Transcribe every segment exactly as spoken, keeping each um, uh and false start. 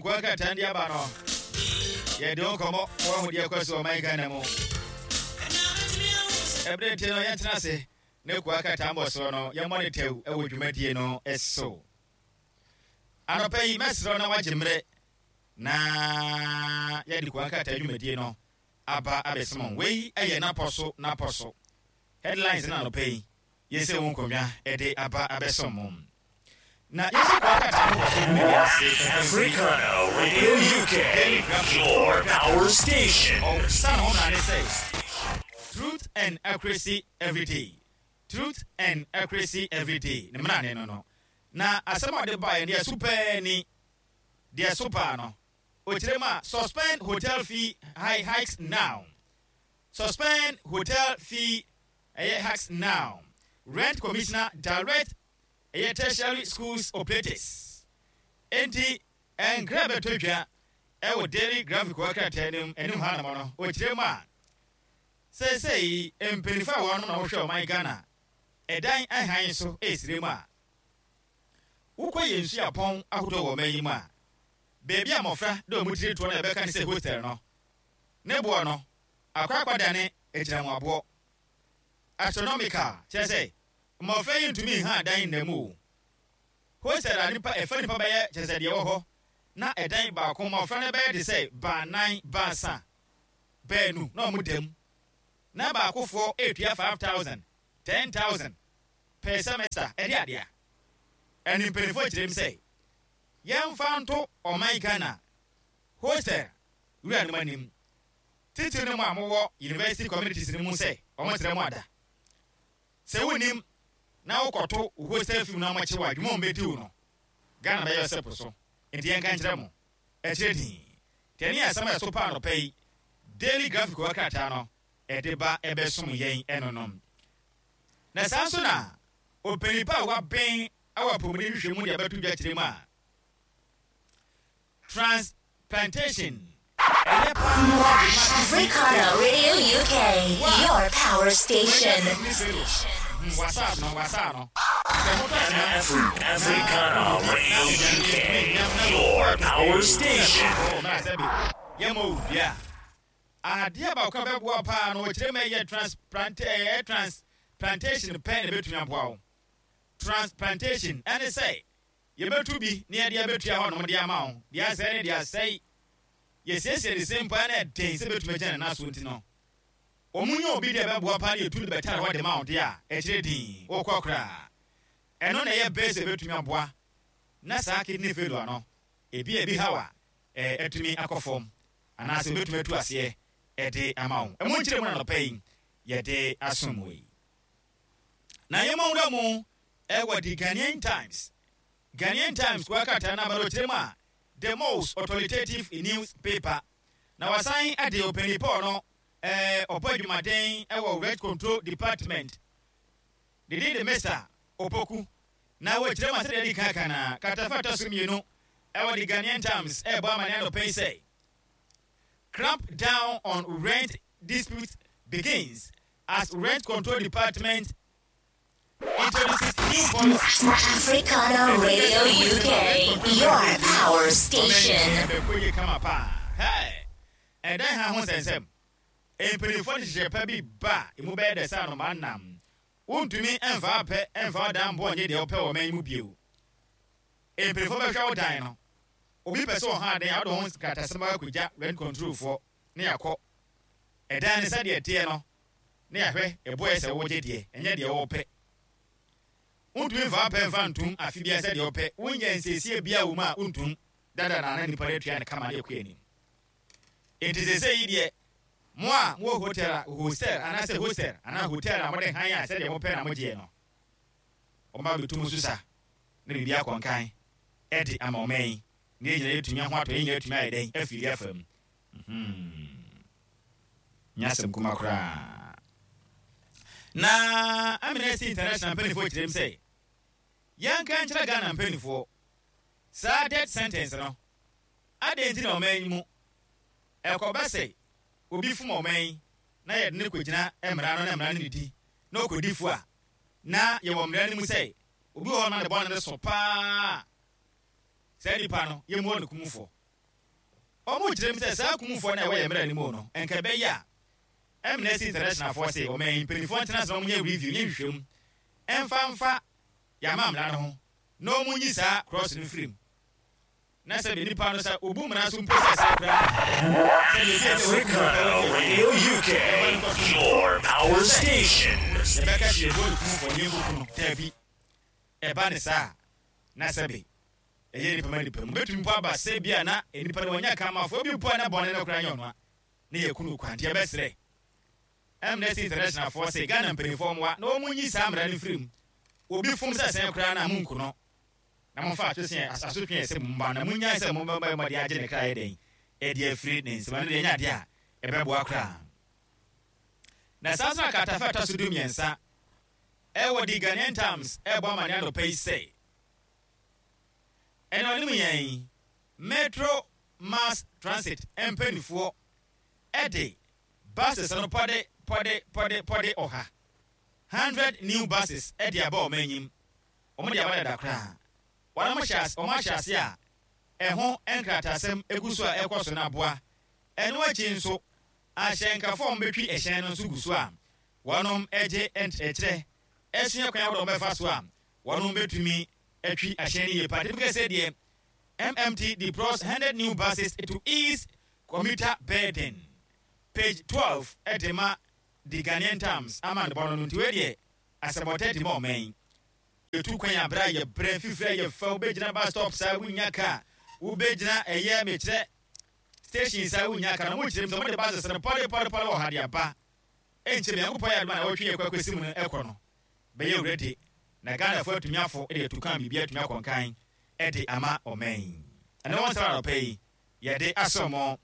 Nkoa krataa de aba no, yɛde wo nkɔmmɔ wɔahu deɛ ɛkɔ so ɔman Ghana mu. Ɛberɛ nti no, yɛntena ase ne koa krataa mbɔ soɔ no, yɛmmɔ ne tɛw wɔ dwumadie no so. Anɔpa yi, mɛserɛ na wagye mmerɛ na yɛde koa krataa dwumadie no aba abɛsom. Wei yɛ napɔ so napɔ so headlines na anɔpa yi yɛsɛ wo nkonnwa de aba abɛsom mo na yɛsɛ koa krataa mbɔ so dwumadie ase. Africana Radio U K, your power station. Ɔsa ne ho mmara ne sɛ "Truth and accuracy every day, truth and accuracy every day." Ne mmara ne no no na asɛm a ɔde baeɛ deɛ so pɛɛ ni deɛ so paa no, ɔkyerɛ mu a, "Suspend hotel fee high hikes now, suspend hotel fee ɛyɛ hikes now. Rent commissioner direct ɛyɛ tertiary schools operators." Enti nkra bɛtɔ dwa ɛwɔ Daily Graphic wɔ krataa anim anim ha nom no, ɔkyerɛ mu a, seesei mpanyinfoɔ a wɔnom na wɔhwɛ ɔman Ghana ɛdan ahan so ɛresire mu a, wokɔ yɛn nsuapɔn ahodoɔ wɔ ɔman yi mu a, beebi a mmɔfra de wɔn tiri toɔ no a yɛbɛka ne sɛ hostel no, ne boɔ no akɔ akɔdane agyinamoaboɔ, astronomical, kyerɛ sɛ mmɔfra yi ntumi nha dan nna mu o. Hostel a nipa ɛfa nipa bɛyɛ, kyerɛ sɛ deɛ ɛwɔ hɔ na ɛdan baako mmɔfra no bɛyɛ de sɛ baanan, baasa, baanu na wɔn dam na baakofoɔ etua five thousand, ten thousand per semester. Ɛde adeɛ ɛne mpanimfoɔ kyerɛ mu sɛ yɛmfa nto ɔman Ghana hostel wura no mu anim, titiri no mu a mowɔ university communities no mu, sɛ ɔmo kyerɛ mo ada sɛ wonim na wokɔto wo hostel fee na ɔmɔkye wɔ adwuma ɔmbɛdi wo no, Ghana bɛyɛ ɔsɛ po so. Nti yɛnka nkyerɛ mo ɛkyerɛ din tɛne asɛm a ɛso paa nɔpɛ yi Daily Graphic wɔ krataa no ɛde ba ɛbɛsom yɛn ɛnonom. Na saa nso na ɔpanipa a wabɛn ɛwɔ apɔmuden hwehwɛ mu de abɛto dwa kyerɛ mu a, transplantation ɛyɛ paa. Africana Radio U K, your power station. Wasa no, wasa no sɛ motɔ kyena. Afri- Africana Radio U K, your power station. Yɛma wo dua adeɛ baako a bɛboa paa no, wɔkyerɛ ma ɛyɛ transplant, ɛyɛ transplantation pɛ na ɛbɛtumi aboa wo. Transplantation ɛne sɛ yɛbɛtu bi na yɛde abɛtua hɔ nom de ama wo. Deɛ asɛe ne deɛ asɛe, yɛsiesie ne se mpo na ɛden sɛ bɛtumi agyina ne nan so, nti no ɔmu nyɛ obi deɛ ɛbɛboa paa ne yɛtu de bɛtare hɔ de ma wo deɛ a ɛkyerɛ din wokɔ koraa. Ɛno na ɛyɛ bɛɛ sɛ ɛbɛtumi aboa na saa kidney failure no ebi a ebi haw a ɛɛ ɛtumi akɔ fam anaasɛ obɛtumi atu aseɛ ɛde ama wo. Ɛmo nkyerɛ mu na nɔpɛ yi yɛde asom wɔ yi na yɛma wura mu ɛwɔ the Ghanaian Times. Ghanaian Times kua krataa no aba no, ɔkyerɛ mu a, the most authoritative newspaper, na wasan ade ɔpanin Paul no ɛɛ ɔbɔ adwumaden ɛwɔ Rent Control Department dede de Mister Opoku na wɔkyerɛ mu a, sɛdeɛ ɛdi kan kan na katafa ɛtɔ so mmienu ɛwɔ the Ghanaian Times ɛɛbɔ amane anɔpɛ yi sɛ "Cramp down on rent dispute begins as Rent Control Department introduces new policy." Africana Radio U K, your power station. Ɛbɛkɔ yie kama paa. Hey! Ɛdan ha ho nsɛnsɛm, mpanyinfoɔ de hyehyɛ pa bi ba a emu bɛyɛ dɛ sɛ anoma nam. Wontumi mfa apɛ mfa ɔdan bɔ nye deɛ wopɛ wɔ ɔman yi mu bio. Mpanyinfoɔ bɛhwɛ wo dan no. Obi pɛ sɛ ɔha adan a, wode ho nkratasɛm akɔgya rent control foɔ ne yɛakɔ ɛdan no sɛdeɛ ɛteɛ no ne yɛahwɛ ɛboɔ yɛ sɛ wogye deɛ ɛnyɛ deɛ wɔpɛ. Wontumi mfa apɛ mfa ntom afe biara sɛdeɛ wopɛ. Wonyɛ nsiesie bia wɔ mu a wontom dada na na nipa no atua ne kama ne ɛkɔ anim. Enti sɛsɛ yi deɛ, mo a mowɔ hotel a, hostel anaasɛ hostel anaa hotel a mode han a sɛdeɛ mopɛ na mogyeɛ no, ɔma bɛtum so sa na biribi akɔnkan ɛde ama ɔman yi na yɛn nyinaa yɛtumi ho atɔ, yɛn nyinaa yɛtumi ayɛ dɛn afiri afa mu. Nyɛ asɛm kuma koraa. Na Amnesty International mpanimfoɔ kyerɛ mu sɛ yɛnka nkyerɛ Ghana mpanimfoɔ saa death sentence no, adɛn nti na ɔman yi mu ɛkɔba sɛ obi fom ɔman yi na yɛde ne kɔgyina mmara no na mmara no ne di na ɔkɔdi fo a, na yɛwɔ mmara no mu sɛ obi wɔ hɔ no ma ne bɔne no so paa, saa nipa no yɛmmuɔ no kumfoɔ. Ɔmo kyerɛ mu sɛ saa kumfoɔ no a ɛwɔ yɛ mmerɛ no mu no, ɛnka ɛbɛyɛ a Amnesty International foɔ se ɔman mpanimfoɔ ntena sɛ ɔmo nyɛ review, nyɛ nhwehwɛmu ɛmfa mfa yɛama mmara no ho na ɔmo nyi saa clause no firim, na sɛ nipa no sɛ obu mmara so mpo sɛ sɛ koraa. Africana Radio U K, your power station. Yɛbɛka sɛ yɛbɔ ne kumfoɔ ne yɛnkuku no, daabi. Ɛba ne saa na sɛbe ɛyɛ nipa ma nipa mu bɛtumi mpo aba sɛ bi a na nipa no wɔnya kamafoɔ bi mpo a na bɔne no koraa nyɛ ɔnoa ne yɛku no kwan. Nti yɛbɛserɛ Amnesty International foɔ sɛ Ghana mpanimfoɔ mmoa na wɔn nyi saa mmara no firi mu. Obi fom sɛ sɛn koraa na monku no, na momfa atwese asotwe ɛsɛ mo mba na monyae sɛ mobɛbɔ mmɔde agye ne kra yɛ dɛn ɛde afiri ne nsɛm. Ɛno deɛ, ɛnyɛ adeɛ a ɛbɛboa koraa. Na saa nso na kratafa ɛtɔ so du mmiɛnsa ɛwɔ The Ghanaian Times ɛbɔ amane anɔpa yi sɛ ɛna ɔnim yɛn Metro Mass Transit mpanimfoɔ ɛde buses no pɔde pɔde pɔde pɔde ɔha, hundred new buses, ɛde aba wɔn anim. Wɔn de aba dada koraa. Wɔn ahyɛ ase, wɔn ahyɛ ase a ɛho nkratasɛm egu so a ɛkɔ so n'aboa. Ɛno akyi nso, ahyɛnkafoɔ a wɔbɛtwi ɛhyɛn no nso gu so a wɔnom gye ɛkyerɛ ɛsua kwan ahodoɔ wɔbɛfa so a wɔnom bɛtumi atwi ahyɛn no yie pa. Typical sɛ deɛ M M T deploys hundred new buses to ease commuter burden, page twelve ɛde ma The Ghanaian Times ama ne bɔ no no. Nti wei deɛ, asɛmɔtɛ de ma ɔman yɛtu kwan abere a yɛbrɛ fifiri a yɛfa, wobɛgyina bus stop saa wonya kaa, wobɛgyina ɛyɛ mekyerɛ station saa wonya kaa. Na mo kyerɛ mu sɛ mode buses no pɔde pɔde pɔde wɔ ha de aba. Ɛnkyɛ Nyankopɔn yɛ adoma na wɔtwe yɛ kɔ akɔsi mu no, ɛkɔ no bɛyɛ ready na Ghanafoɔ atumi afo de atu kan, biribi atumi akɔnkan ɛde ama ɔman yi. Ɛne wɔn nsɛm anɔpa yi yɛde asɔ mo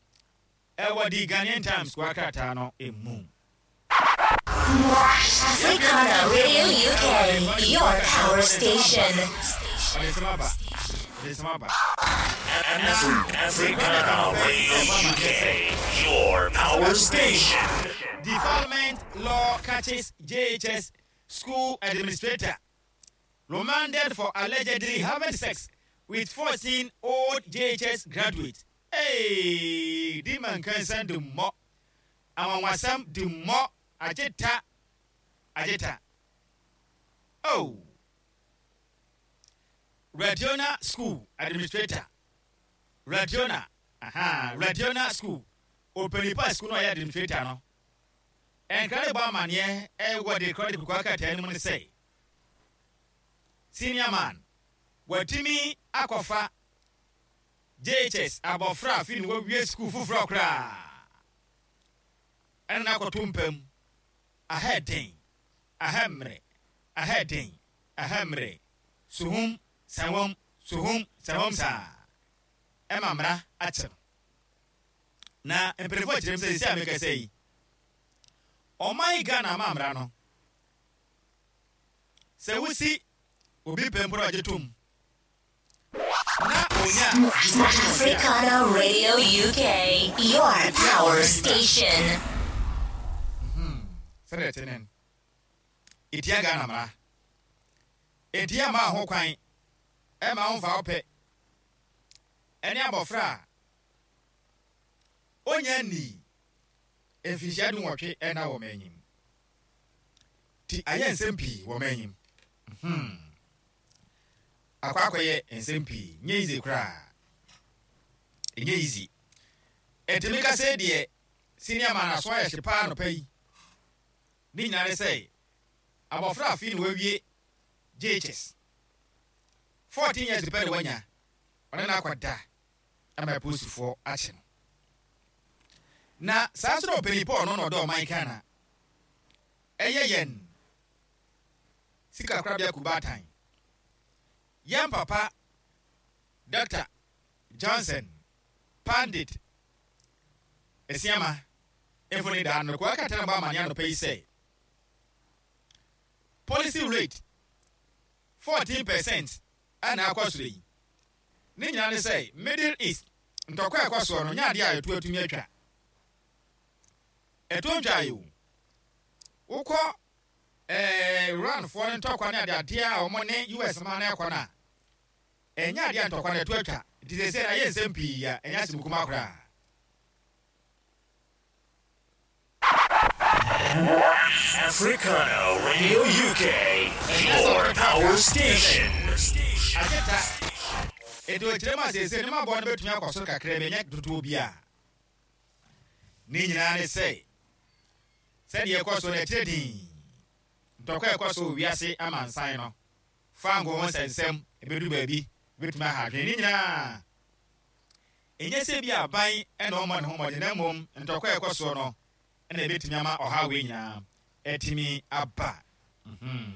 ɛwɔ The Ghanaian Times kɔ krataa no emu. Africana Radio U K, your power station. Ɔde nsɛm aba, ɔde nsɛm aba. Africana Radio U K, your power station. Defilement law catches J H S school administrator, remanded for allegedly having sex with fourteen old J H S graduate. Hey, di mankansan di mmɔ anwanwasɛm di mmɔ agyeta agyeta. Oh, Radiona school administrator, Radiona, aha, Radiona school opanipa school no ɔyɛ administrator no, ɛnkra ne bɔ amanneɛ ɛwɔ de kora de kukua krataa no mu no sɛ senior man watumi akɔfa J H S abɔfra afi ne wawie sukuu foforɔ koraa ɛna n'akɔto mpam ahɛ den ahɛ mmerɛ ahɛ den ahɛ mmerɛ suhum sɛwɔm suhum sɛwɔm saa ɛma mmara akyɛ no. Na mpanimfoɔ kyerɛ mu sɛ sisi a mekasa yi, ɔman Ghana ama mmara no sɛ wosi obi pɛ mpo na ɔgye tom na onya Africana Radio U K, your power station. Sɛdeɛ ɛte ne no, ɛtia Ghana mmara, ɛnti ama ho kwan ɛma wo mfa wo pɛ ɛne abɔfra a onya nii mfinhyia du nwɔtwe ɛna wɔ m'anyim ti ayɛ nsɛm pii wɔ m'anyim hmm. Akɔ akɔyɛ nsɛm pii, nyɛ easy koraa, ɛnyɛ easy. Ɛntumi ka sɛ deɛ senior man aso ayɛ hye paa nɔpa yi ne nyinaa ne sɛ abɔfra afi na wawie J H S, fourteen years pɛ na wanya, ɔne no akɔda ama apolisifoɔ akye no. Na saa nso na ɔpanin paul no na ɔdɔ ɔman Ghana ɛyɛ yɛn sika korabea kubaatan, yɛn papa Doctor Johnson Pandit Esiama mfoni daa no kɔ akata no bɔ amane anɔpa yi sɛ policy rate fourteen percent ɛna akɔ soro yi. Ne nyinaa ne sɛ Middle East ntɔkwa a ɛkɔ soɔ no nyɛ adeɛ a ɛto atumi atwa, ɛto ntwa yi o. Wokɔ ɛɛ Iranfoɔ no ntɔkwa ne adeadeɛ a wɔn ne U S man no ɛkɔ no a, ɛnyɛ adeɛ a ntɔkwa no ɛto atwa. Nti sɛ sɛ na yɛ nsɛm pii a ɛnyɛ asɛm kuma koraa. Africana Radio U K, your power station. Agye ta ɛnti ɔkyerɛ mu a seesei ne maboa no bɛtumi akɔ soro kakra bi, ɛnyɛ dodoɔ bi a ne nyinaa ne sɛ sɛdeɛ ɛkɔ so no ɛkyerɛ din ntɔkwa a ɛkɔ so wɔ wiase amansan no fango ho nsɛnsɛm ɛbɛdu baabi bɛtumi aha adwene ne nyinaa. Ɛnyɛ sɛ bi aban ɛna ɔmmɔ ne ho mmɔden, na mmom ntɔkwa a ɛkɔ soɔ no ɛna ɛbɛtumi ama ɔhaw wei nyinaa ɛtumi aba. Mhm.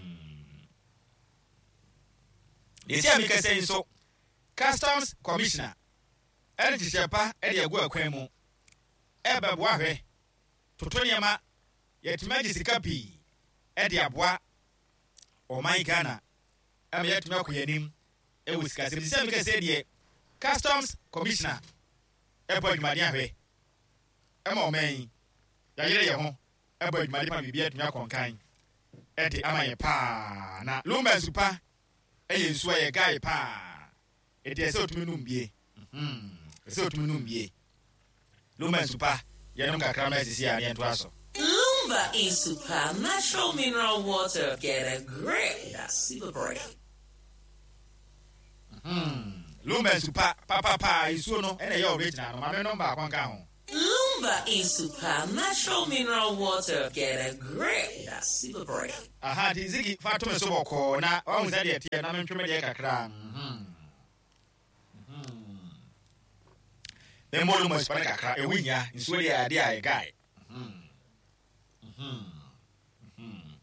Deɛ si a mekasa yi nso, Customs Commissioner ɛne nhyehyɛ pa ɛde agu akwan mu ɛbɛboa hwɛ toto nneɛma yɛtumi agye sika pii ɛde aboa ɔman Ghana ɛma yɛtumi akɔ yɛn anim ɛwɔ sikasɛm. Sɛ mekasa deɛ, Customs Commissioner ɛbɔ adwumaden ahwɛ ɛma ɔman yi yɛayere yɛn ho ɛbɔ adwumaden pa, biribi atumi akɔ nkan ɛde ama yɛn paa. Na Lumba nsupa ɛyɛ nsuo a yɛ guy paa, ɛti ɛsɛ otumi num bie. Mhm. Ɛsɛ otumi num bie. Lumba nsupa, yɛnom kakra ma asisi a ne yɛntoa so. Lumba Insupa natural mineral water. Get a grip. That's super break. Lumba nsupa papapa, nsuo no ɛna ɛyɛ original no. Maame nom baako nka ho. Lumba Insupa natural mineral water. Get a grip. That's super break. Aha, nti Zigi fa to me so bɔkɔɔ na wahu sɛ deɛ teɛ na mentwe me deɛ kakra. Mhm. Mhm. Memmɔ Lumba nsupa no kakra, ɛho hia. Nsuo deɛ adeɛ a ɛgae. Mhm. Mhm. Mhm.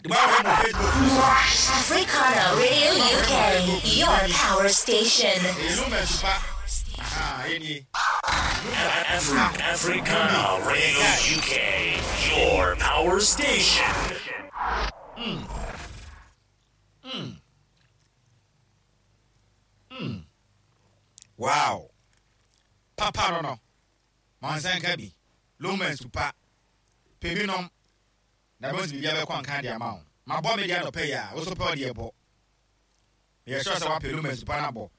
De mo ahwɛ mo Facebook no so. Africana Radio U K, your power station. Ɛyɛ Lumba nsupa. Aha, ɛnie. Afri- Africana Radio U K, your power station. Mm. Mm. Mm. Wow. Papa no no. Ma nsa nka bi. Lumba nsupa. Pɛ bi nom. Na bɛn sɛ biribi abɛkɔ nka de ama wo. Mabɔ me deɛ anɔpɛ yi a, wo so pɛ ɔdeɛ bɔ. Yɛ sure sɛ wapɛ Lumba nsupa no abɔ.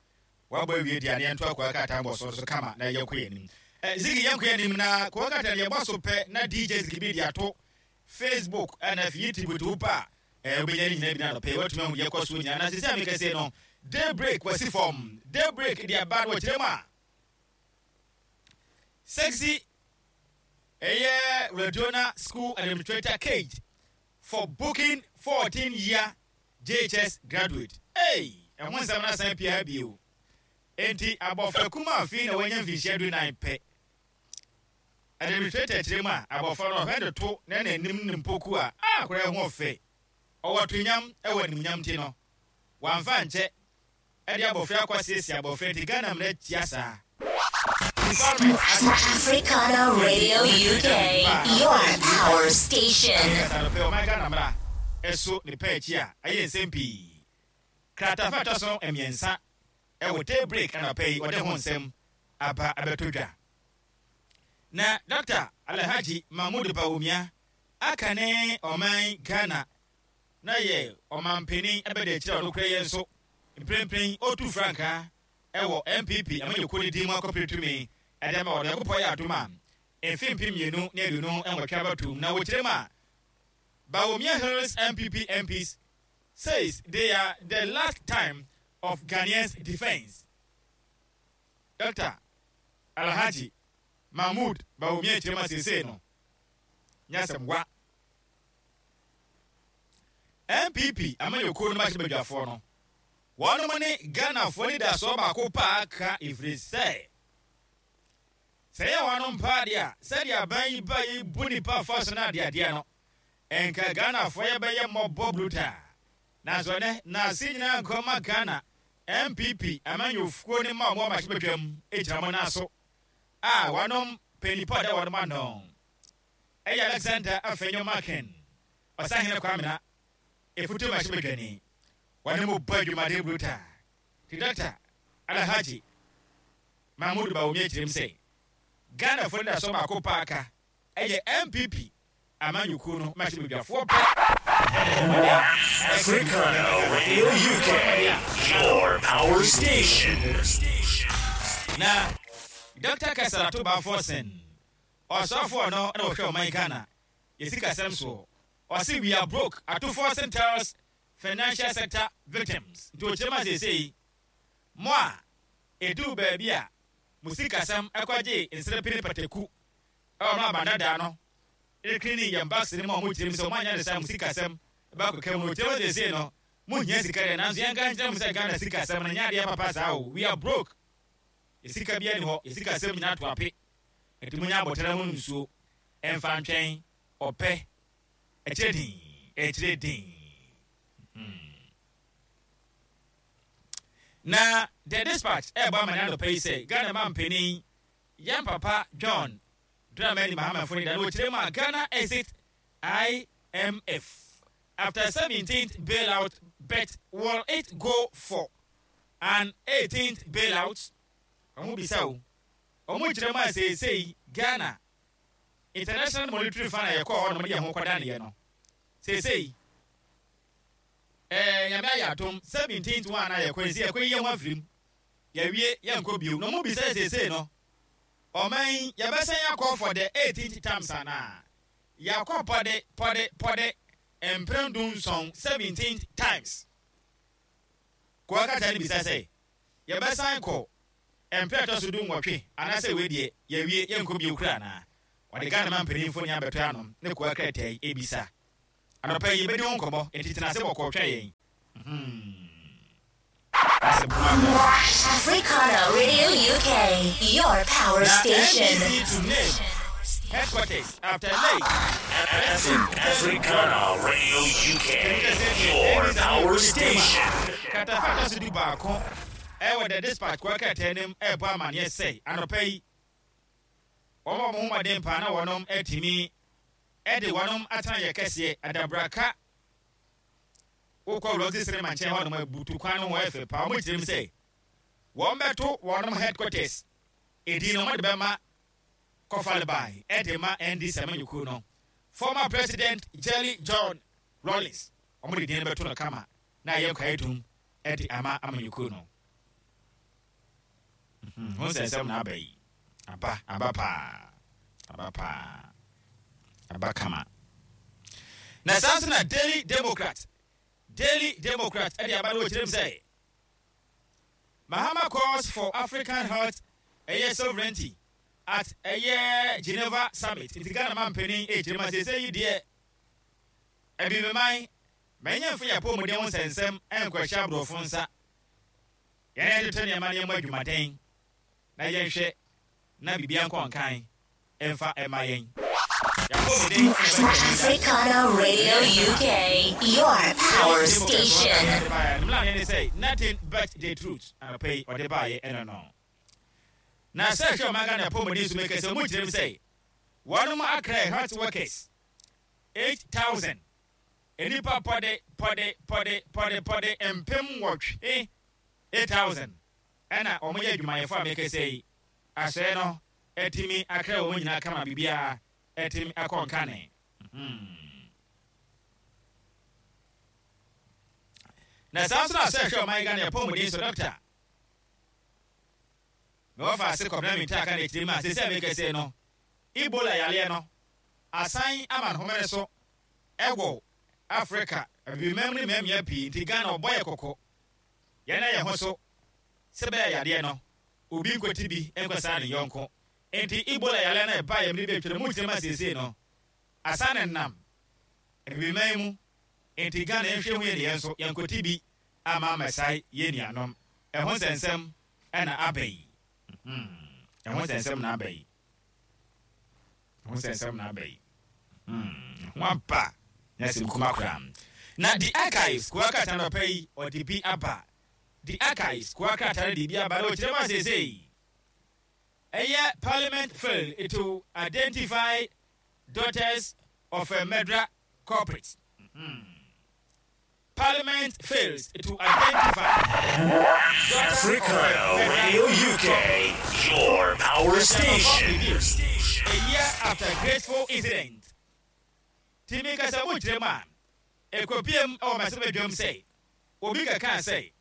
Wabɔ awie deɛ a, ne yɛnto akɔa krataa bɔ so so kama na yɛkɔ yɛn anim. Eh, Ziggy, yɛnkɔ yɛn anim na kɔa krataa no yɛbɔ so pɛ na D J Ziggy bi de ato Facebook ɛna afei YouTube to wo pa a ɛɛ wobɛnya ne nyinaa bi na anɔpɛ yi watumi ahu deɛ ɛkɔ so nyinaa. Na sisi a mekɛse no, Daybreak wasi fam. Daybreak de aba no, wɔkyerɛ mu a sexy ɛyɛ Radona school administrator caged for booking fourteen year J H S graduate. Hey, ɛho nsɛm no asan pia bio. Enti abɔfra kuma afei na wanya mfinhyia du nan pɛ, administrator kyerɛ mu a abɔfra no ɔhwɛ de to na n'anim ne mpoku a akora ho ɔfɛ, ɔwɔ tonyam ɛwɔ animuonyam, ti no wamfa nkyɛ ɛde abɔfra akɔ asiesie abɔfra. Nti Ghana mmara tia saa. Africana Radio U K, your power station. Kasa no pɛ ɔman Ghana mmara ɛso ne pɛ akyi a ɛyɛ nsɛm pii. Kratafa ɛtɔ so mmiɛnsa ɛwɔ Daybreak anɔpɛ yi, ɔde ho nsɛm aba abɛto dwa. Na Doctor Alhaji Mahmood Bawumia aka ne ɔman Ghana na yɛ ɔmanpanin ɛbɛda akyire a ɔno kura yɛn nso mprempren ɔtu frankaa ɛwɔ N P P amanyɔkuo ne din mu akɔpere tumi ɛde ama wɔde Nyankopɔn yɛ adom a mfe mpem mmienu ne aduonu nwɔtwe abɛtom. Na wɔkyerɛ mu a, Bawumia hails N P P M Ps, says they are the last line of Ghanaians' defense. Doctor Alhaji Mahmood Bawumia kyerɛ mu a seesei no nyasɛm wa N P P amanyɔkuo no mahyɛ badwafoɔ no, wɔnom ne Ghanafoɔ ne dasoɔ baako paa ka, ɛfiri sɛ sɛ yɛ wɔnom paa deɛ a, sɛdeɛ aban yi ba yi bu nipa fa so no adeadeɛ no, ɛnka Ghanafoɔ yɛbɛyɛ mmɔbɔ brutaa. Nanso ɛnɛ naase nyinaa nkɔma Ghana N P P amanyɔfuo ne ma ɔmo amahyɛ badwam gyina mo nan so a wɔnom panipa ɔda wɔnom ano ɛyɛ Alexander Afenyo Markin, Ɔsahene Kwamena efutu mahyɛ badwani, wɔne mo bɔ adwumaden brutaa. Ti Doctor Alhaji Mahmood Bawumia kyerɛm sɛ Ghanafoɔ no da so baako paa ka ɛyɛ N P P amanyɔkuo no mahyɛ badwafoɔ pɛ. Africana Radio U K, your power station. Na Doctor Cassiel Ato Forson Ɔsɔfoɔ no na wɔhwɛ ɔman Ghana yɛ sikasɛm soɔ. Ɔse, "We are broke," Ato Forson tells financial sector victims. Nti ɔkyerɛ mu a, seesei mo a ɛduu baabi a mo sikasɛm ɛkɔgye nsrɛpene pataku ɛwɔ mo abandadaa no ɛrekini yɛn banks no mu a, ɔmo kyerɛ mu sɛ ɔmo anya ne sa mo sikasɛm ɛbɛkɔka mu no, ɔkyerɛ mu seesei no mo hia sika deɛ, nanso yɛnka nkyerɛ mo sɛ Ghana sikasɛm no nyɛ adeɛ papa saa o. We are broke, yɛ sika bi ani hɔ, yɛ sikasɛm nyinaa to ape. Nti mo nya abɔtɛrɛ mo nsuo ɛmfa ntwɛn ɔpɛ ɛkyerɛ din ɛkyerɛ din hmm. Na The Dispatch ɛɛbɔ amane anɔpa yi sɛ Ghana ma mpanin yɛn papa John Dramani Mahama fo ne da no wɔkyerɛ mu a, Ghana exit I M F after seventeenth bailout, but will it go for an eighteenth bailout? Ɔmo bisa o, ɔmo kyerɛ mu a, seesei Ghana International Monetary Fund a yɛkɔɔ hɔ nom de yɛn ho kɔda neɛ no, seesei ɛɛ Nyame ayɛ atom, seventeenth one a yɛkɔ esi yɛkɔ yi yɛn ho afirim, yɛwie, yɛnkɔ bio. Na ɔmo bisa seesei no, ɔman yi yɛbɛsɛn akɔ for the eighteenth times anaa? Yɛakɔ pɔde pɔde pɔde mpere du nson, seventeenth times. Kɔɔ kata no bisa sɛ yɛbɛsan kɔ mpere ɛtɔ so du nwɔtwe anaasɛ wei deɛ yɛwie, yɛnkɔ bio kura anaa? Wɔde Ghana ma mpanimfo ne abɛtɔ anom ne kɔɔ krataa yi ebisa. Anɔpa yi yɛbɛdi ho nkɔmmɔ, nti tena ase bɔkɔɔ twɛn yɛn. Africana Radio U K, your power Na station. N D C to name headquarters after late Africana Radio U K, your power station. Kratafa atɔ so du baako ɛwɔ The Dispatch kɔɔ krataa anim ɛrebɔ amanneɛ sɛ anɔpa yi wɔn a wɔn ho mmɔden paa na wɔnom atumi ɛde wɔnom atena yɛ kɛseɛ adabraka. Wokɔ Roxy Cinema nkyɛn hɔ nom, abutu kwan no ho ɛfɛ paa. Wɔn kyerɛ mu sɛ wɔn bɛto wɔnom headquarters edin no, wɔn de bɛma kɔfaleban ɛde ma N D C amanyɔkuo no former President Jelly John Rawlings. Wɔn de din no bɛto no kama na ɛyɛ kwae dum ɛde ama amanyɔkuo no Mhm, ho nsɛnsɛm na aba yi, aba aba paa, aba paa, aba kama. Na saa nso na Daily Democrat, Daily Democrat ɛde aba no, wɔkyerɛ mu sɛ Mahama calls for African health ɛyɛ sovereignty at ɛyɛ Geneva summit. Nti Ghana ma mpanin ɛkyerɛ mu asese yi deɛ, abibiman mɛnyɛ mfo yɛ apɔmuden ho nsɛnsɛm ɛnkɔhyɛ aborɔfo nsa. Yɛn yɛtotɔ nneɛma nneɛma adwumaden na yɛnhwɛ na biribia nkɔ nkan ɛmfa ɛma yɛn yɛapɔmuden. Africana Radio U K, your power station. Mmla ne sɛ nothing but the truth. Anɔpa yi ɔde baayɛ ɛno no na sɛ hwɛ ɔman Ghana apɔmuden so mɛkɛ sɛ ɔmu kyerɛ m sɛ wɔnom akra health workers eight thousand, nnipa pɔde pɔde pɔde pɔde pɔde mpem nwɔtwe, eight thousand, ɛna wɔn yɛ adwumayɛfo a mɛkɛ sɛ yi asɔɛ no ɛtumi akra wɔn nyinaa kama, biribiara ɛtumi akɔ nkane. Mhm. Na saa nso na sɛ hwɛ ɔman Ghana apɔmuden so, doctor na wɔfa ase kɔbena mi ntaaka na akyire mu a, sɛ sɛ mɛkɛ no Ebola yareɛ no asan ama ne homene so ɛwɔ Africa abibimam ne mmeammea pii. Nti Ghana ɔbɔ yɛ kɔkɔ, yɛn ayɛ ho so sɛ bɛyɛ yadeɛ no obi nkɔti bi nkɔsaa ne yɔnko. Nti Ebola yareɛ no ɛba yɛ mmere bi atwam mu kyerɛ mu asiesie no asan ne nam abibiman mu. Nti Ghana yɛnhwɛ hu yɛ ne yɛn nso yɛnkɔti bi ama amɛsae yɛn nuanom. Ɛho nsɛnsɛm ɛna aba yi. Mhm. Ɛho nsɛnsɛm na aba yi, ɛho nsɛnsɛm na aba yi. Hmm, ho aba na sɛ nkuma koraa. Na The Archives kowa krataa no pɛ yi ɔde bi aba. The Archives kowa krataa no de bi aba na ɔkyerɛ mu asesei ɛyɛ parliament failed to identify daughters of a murderer culprit. Hmm. Parliament fails to identify daughters of a Africana murderer Radio U K, your power station. A year after graceful incident. Timi kasa mu kyerɛ mu a, ekopiem ɛwɔ masɛm adwam sɛ obi kaka sɛ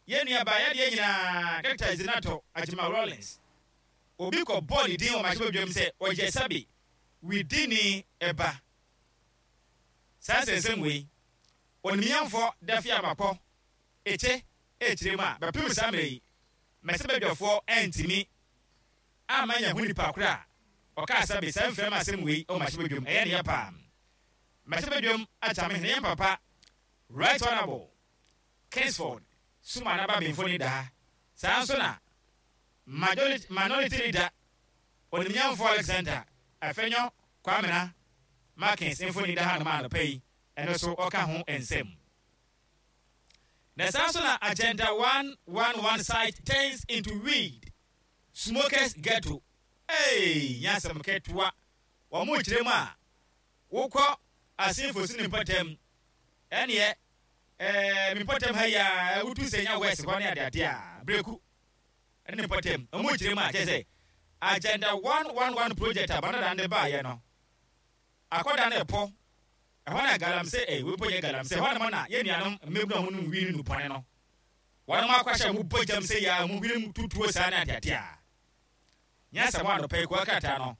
yɛn nua baa yadeɛ nyinaa, Doctor Zanetor Agyeman Rawlings. Obi kɔ bɔɔ ne din wɔ mmarahyɛbadwam sɛ ɔyɛ sɛbe widini ɛba. Saa nsɛnsɛm wei, onimnyamfoɔ Dafeamekpor ɛkyɛ ɛkyerɛ mu a bɛpem saa mmerɛ yi mmarahyɛbadwafoɔ ɛntumi ama nya ho nipa koro a ɔkaa sɛbe saa mframa asɛm wei wɔ mmarahyɛbadwam. Ɛyɛ ne yɛ paa. Mmarahyɛbadwam akyame hene yɛn papa Right Honourable Kingsford Sumana Benfo daa. Saa nso na majority minority leader, onimnyamfoɔ Alexander Afenyo Kwamina Markins mfoni da hanom anɔpa yi, ɛno so ɔka ho nsɛm. Na saa nso na Agenda one one one site turns into weed smokers ghetto. Ee, nyasɛm ketewa. Wɔn mo kyerɛ mu a wokɔ asenfo si ne mpɔtam, ɛneɛ ɛɛ mi mpɔtam ha yi a wotu sɛ nya west hɔ ne adeade a breku ɛne ne mpɔtam. Wɔn mo kyerɛ mu a kyerɛ sɛ Agenda one one one project a banada de baayɛ no akɔda no ɛpɔ ɛhɔ na galamsey. Ɛ wei mpo nyɛ galamsey ɛhɔ nom na yɛn nuanom mmabunu a wɔn nom wii no nupɔne no wɔn akɔhyɛ wɔn bɔ gyam sɛ yɛ a wɔn hwene mu tutuo saa ne adeade a nyasɛm anɔpa yi kuwa krataa no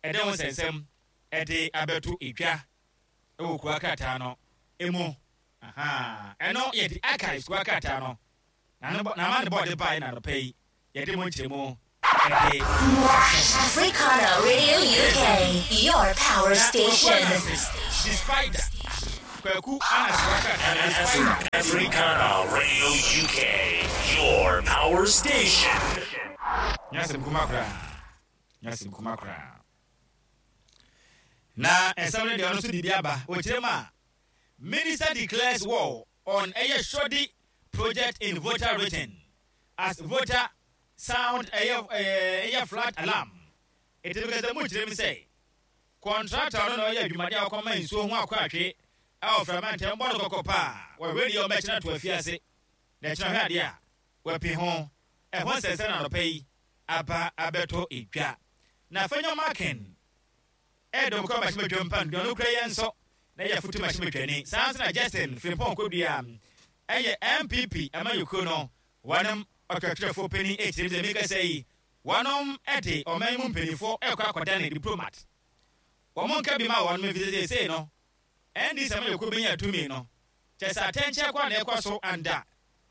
ɛde ho nsɛnsɛm ɛde abɛto edwa ɛwɔ kuwa krataa no emu. Ɛno yɛde Archives kuwa krataa no na ama ne bɔɔde baeɛ na anɔpa yi yɛde mo nkyerɛmu ɛde. Africana Radio U K, your power station. The Spider Kwaku Anase krataa no, The Spider. Africana Radio U K, your power station. Nyasɛm kuma koraa, nyasɛm kuma koraa. Na ɛsɛm no deɛ ɔno nso de bi aba. Ɔkyerɛ mu a minister declares war on ɛyɛ shoddy project in Volta Region as Volta sound ɛyɛ ɛyɛ ɛyɛ flood alarm. Ètò ìkẹsẹ̀ mu kyerɛ mi sɛ contractor no na ɔyɛ adwumadeɛ a ɔkɔma nsuo ho akɔ atwe ɛwɔ frama ntɛm bɔ no kɔkɔ paa. Wɔhwɛ deɛ ɔbɛkyerɛ to afiase na ɛkyerɛ hwɛ adeɛ a wɔapi ho ɛho nsɛnsɛn na anɔpa yi aba abɛtɔ edwa. Na Afenyo Markin ɛdɔm kɔ mmarahyɛbadwam pa nduane no kura yɛn nso na yɛ foto mmarahyɛbadwani. Saa nso na Justin Frimpong Kodua ɛyɛ N P P amanyɔkuo no wɔnom ɔtwerɛtwerɛfoɔ panin ɛkyerɛ mu sɛ mekasa yi wɔnom ɛde ɔman mu mpanimfoɔ ɛkɔ akɔda diplomat wɔn nka bi ma wɔn mfiri seesei no N D C amanyɔkuo bɛnya tumi no kyɛ sɛ atɛnkyɛ kɔ a na ɛkɔ so anda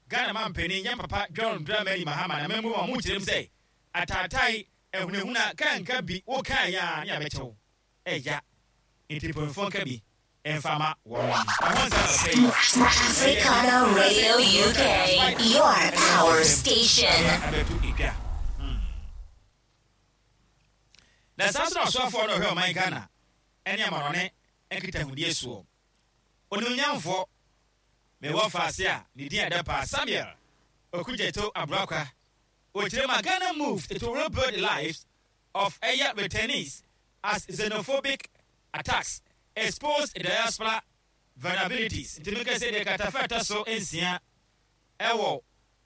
Ghana ma mpanin yɛn papa John Dramani Mahama na mɛmu wɔn mo kyerɛ mu sɛ ataatae ehunahuna kanka bi wokaa yɛ a ne abɛkyɛw ɛya nti mpanyinfoɔ nka bi mfama wɔn ɛho nsɛm ɔpɛ yi. Africana Radio U K, your power station. Abɛto edwa na saa nso na ɔsoafoɔ no ɔhwɛ ɔman Ghana ɛne amanɔne nkitahudie soɔ, onimnyamfoɔ mewɔ faase a ne din ɛda paa Samuel Okudzeto Ablakwa, ɔkyerɛ mu a Ghana moved to rebuild the lives of ɛyɛ returnees as xenophobic attacks exposed diaspora vulnerabilities. Nti meka sɛ deɛ katafa ɛtɔ so nsia ɛwɔ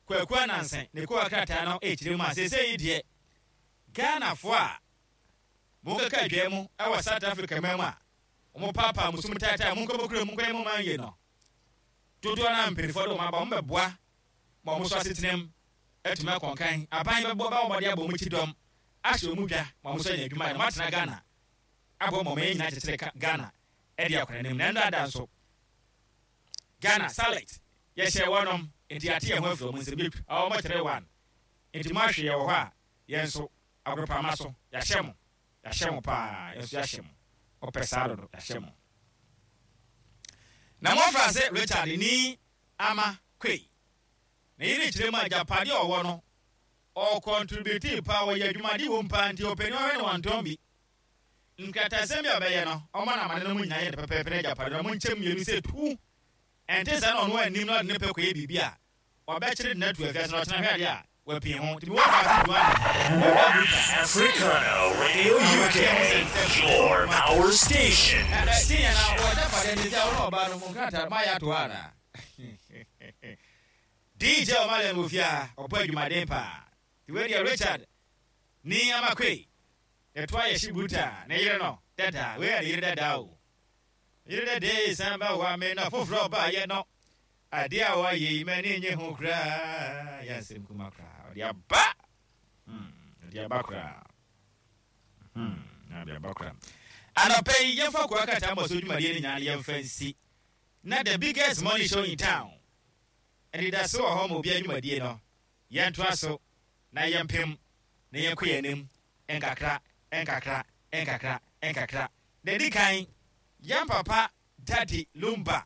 Kwaku Ananse ne kowa krataa no ɛkyerɛ mu a seesei yi deɛ Ghanafoɔ a monkeka adwa mu ɛwɔ South Africa ma mu a wɔn paapaa musum taataa mu nkɔbɔ kuro mu nkɔyɛ mu man yie no dodoɔ no a mpanimfoɔ de wɔn aba wɔn bɛboa ma wɔn so asetenam atumi akɔnkan. Aban bɛbɔ bɛwɔ mmɔde abɔ wɔn akyi dɔm ahyɛ wɔn dwa ma wɔn so anya adwuma yɛ na wɔn atena Ghana abɔ ma wɔn nyinaa kyekyere Ghana ɛde akɔ n'anim. Na ɛno ada nso Ghana salet yɛhyɛ wɔnom nti ate yɛn ho afiri wɔn nsɛm bi a wɔn kyerɛ one nti mo ahwɛ yɛ wɔ hɔ a yɛn nso agorɔpama so yɛahyɛ mo, yɛahyɛ mo paa. Yɛn nso yɛahyɛ mo ɔpɛ saa dodo, yɛahyɛ mo. Na wɔfra sɛ Richard Nii Armah Quaye na yɛne kyerɛ mu agyapadeɛ a ɔwɔ no ɔcontribute paa, wɔyɛ adwumade wɔ mu paa nti ɔpanin ɔhwɛ no wantɔn bi. Nkratasɛm bi a ɔbɛyɛ no ɔma no amane no mu nyinaa yɛ no pɛpɛɛpɛ no agyapadeɛ no ɔmo nkyɛm mmienu sɛ tu ɛnte sɛ na ɔno anim na ɔde ne pɛ kɔyɛ biribi a ɔbɛkyere de no atu afiase na ɔkyena hwɛ adeɛ a wapii ho nti mewɔ faase duane. Africana Radio U K, your power station. Tiɲɛ na wɔgyapadeɛ nti sɛ ɔno ɔbaa no mu nkrataa mayɛ ato hɔ anaa D J Ɔmale wɔ fie a ɔbɔ adwumaden paa nti wei deɛ Richard Nii Armah Quaye yɛto ayɛ hye bruta ne yere no dada. Wei yɛ ne yere dada o, yere dada yi san ba wa me na foforɔ ɔbaayɛ no adeɛ a wɔayɛ yi m'ani nye ho koraa. Yɛ nsɛm kuma koraa ɔde aba, ɔde aba koraa. Hmm, na bia bakora. Anɔpɛ yi, yɛmfa koa krataa mmɔ so dwumadie no nyinaa no yɛmfa nsi na the biggest money show in town ɛdeda so wɔ hɔ ma obi adwumadie no yɛntoa so na yɛmpem na yɛnkɔ yɛn anim nkakra nkakra nkakra nkakra. Na di kan, yɛn papa Daddy Lumba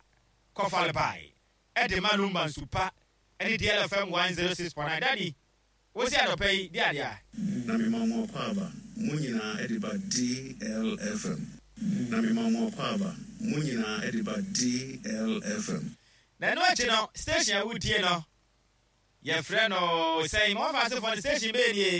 kɔfalebae ɛde ma Lumba Nsupa ɛne D L F M one oh six point nine. Daddy, wosi anɔpɛ yi di adeɛ a Na mema mo akɔ aba mo nyinaa ɛde ba D L F M. Na mema mo akɔ aba mo nyinaa ɛde ba D L F M. Na ɛno akyi no, station a wotie no, yɛfrɛ no sɛn? Ma wɔfa asefoɔ no, station bɛɛ nie.